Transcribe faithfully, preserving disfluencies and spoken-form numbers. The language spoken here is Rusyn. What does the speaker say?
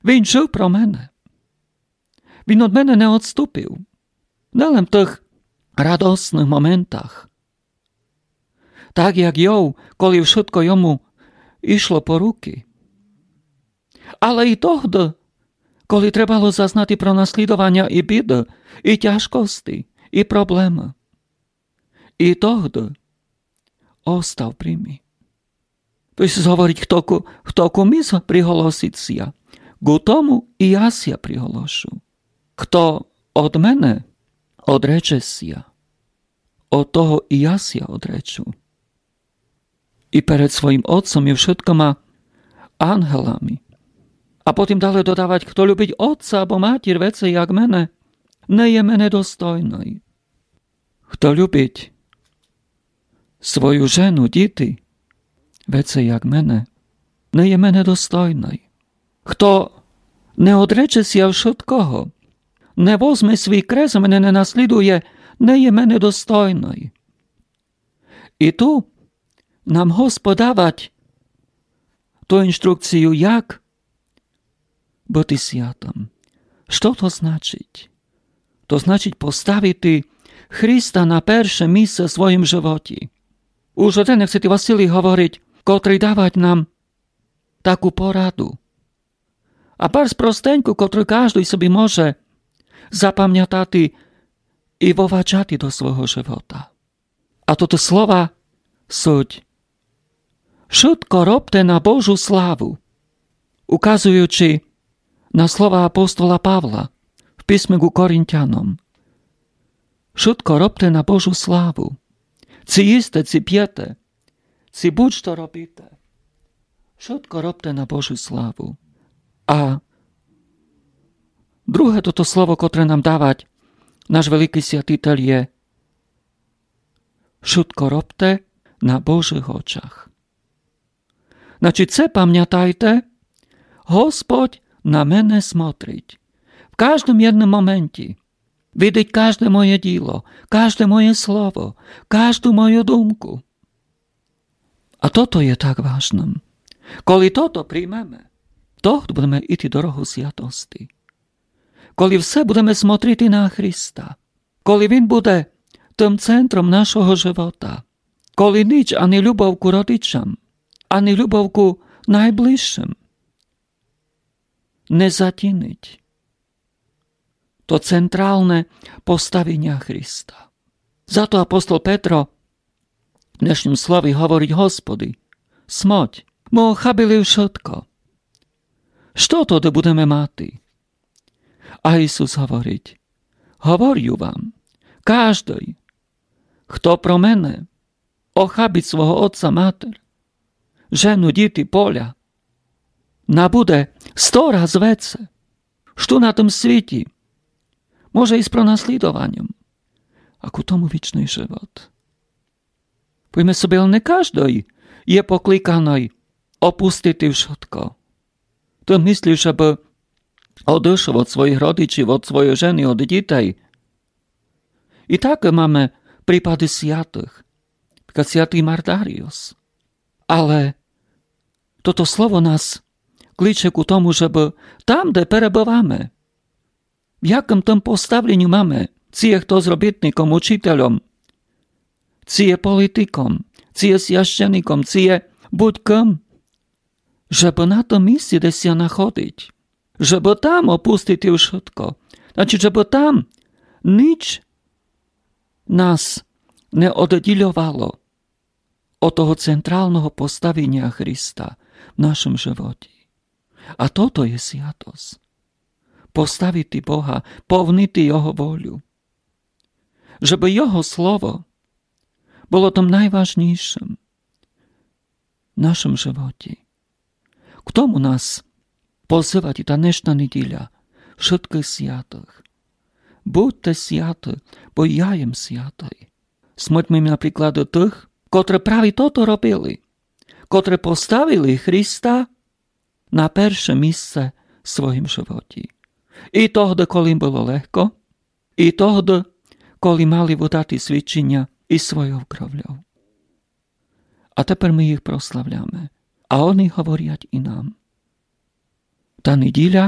Він жыв про мене. Він од мене не одступив. Не лем в тых радосных моментах. Так як Йов, коли вшытко йому ішло по рукы. Але і тогды, коли требало зазнати пронаслідованя і біды, і тяжкости, і проблемы. І тогды остав при мі. Хтось говорить, хто ку, хто ку мі приголосить ся, ку тому і я ся приголошу. Хто од мене одрече ся, од того і я ся одречу. І перед своїм Отцом і вшыткыма ангелами. А потім дале додавать: хто любить отца або матір веце як мене, не є мене достойный. Хто любить свою жену, діти веце як мене, не є мене достойный. Хто не одрече ся вшыткого, не возме свій крест, мене не наслідує, не є мене достойный. І ту нам Господь давать ту інструкцію, як быти святым. Што то значить? То значить поставити Христа на перше місце в своїм животі. Уж о тен, як святый Василій говорить, котрый давать нам таку пораду. А барз простеньку, котру каждый собі може запамятати і воваджати до свого живота. А тото слова суть: вшытко робте на Божу славу, указуючи на слова апостола Павла в писме ку Коринтяном. Вшытко робте на Божу славу. Ци їсте, ци пєте, ци будь-што робите, вшытко робте на Божу славу. А друге тото слово, котре нам давать наш великый святитель, є: вшытко робте на Божых очах. Значить, се памятайте: Господь на мене смотрить в каждым єдным моменті. Видить кажде моє діло, кажде моє слово, кажду мою думку. А тото є так важным. Коли тото приймеме, то будеме іти дорогу святости. Коли все будеме смотрити на Христа, коли Він буде тым центром нашого живота, коли ніч, ани любов ку родичам, ани любов ку найближшым не затінить то централне поставіня Христа. Зато апостол Петро в днешнім слові говорить: Господи, смерть, мы охабили вшытко. Што тоды будеме мати? А Ісус говорить: говорю вам, каждый, хто про мене охабить свого отца, матір, жену, діти, поля, набуде сто раз веце, што на тым світі, може і з пронаслідованям, а ку тому вічный живот. Повіме собі, але не каждый є покликаный опустити вшытко. Ты мыслиш, жебы одышов од своїх родичів, од своєй жены, од дітей. І так маме припады святых, наприклад святый Мардаріус. Але тото слово нас кличе ку тому, жебы там, де перебываме, в якым там поставленю маме, ци є хто з робітником, учітельом, ци є політиком, ци є священиком, ци є будь-кым, жебы на тым місці, де ся находить, жебы там опустити вшытко. Значить, жебы там ніч нас не оддільовало од того централного поставіня Христа в нашым животі. А тото є святость. Поставити Бога, повнити Його волю. Жебы Його слово было тым найважнійшым в нашым животі. К тому нас позывать і та днешна неділя вшыткых святых. Будьте святы, бо я єм святый. Смотрим на приклады тых, котры праві тото робили, котры поставили Христа на перше місце в своїм животі. І тогды, коли їм было легко, і тогды, коли мали выдати свідчіня і свойов кровлёв. А тепер мы їх прославляме, а они говорять і нам. Та неділя